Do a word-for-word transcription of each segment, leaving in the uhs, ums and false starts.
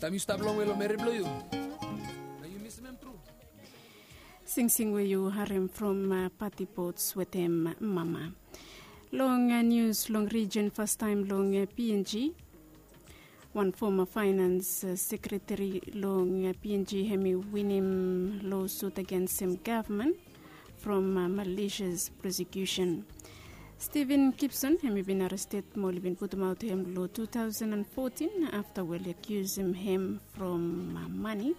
Taem yu stap longwe long meri blong yu, na yu misim em tru. Singsing we yu harem from pati bots wetem mama. Long nius long rijen fastaem long png, wan foma faenans sekretari long png hem i winim losut agensem gavman from malisias prosekusen. Steven Gibson hem i bin arested mo oli bin putumaot hem long two thousand and fourteen afta we oli akiusim hem from mani.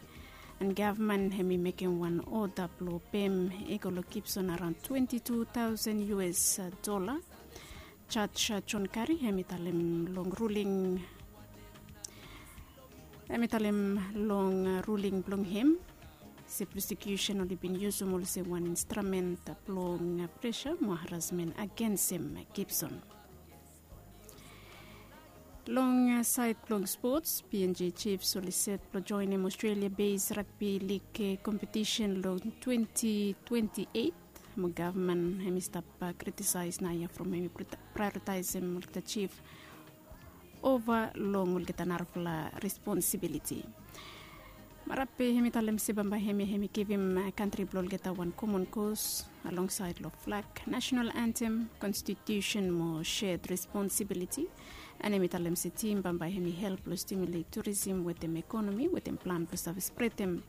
And gavman hem i mekem wan oda blong pem i go long Gibson araon twenty two thousand us dola. Jaj John Kari hem i talem long ruling hem i talem long ruling blong hem se prosekusen oli bin yusum olsem wan instramen blong presa mo harasmen agensem Gibson. Long saed blong spots, png Chiefs oli set blong joenem Australia base rugby league kompetisen long twenty twenty eight. Mo gavman hem i stap kritisaes naoia from hem i prioritaesem olgeta chief ova long olgeta narafala responsibiliti. Marape hem i talem se bambae hemia hem i givim kantri blong olgeta wan komon kos alongsaed long flag, nasenal antem, konstitusen mo shed responsibiliti. And hem i talem se tim bambae hem i help long stimulate turism wetem ekonomi wetem plan blong save spretem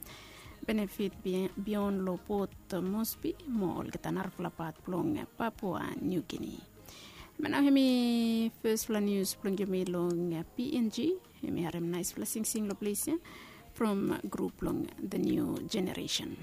benefit bion long port mosbi mo olgeta narafala pat blong Papua New Guinea. Be nao hem i fesfala nius blong yumi long png. Hem i harem naesfala singsing long ples ya from grup blong the new generation.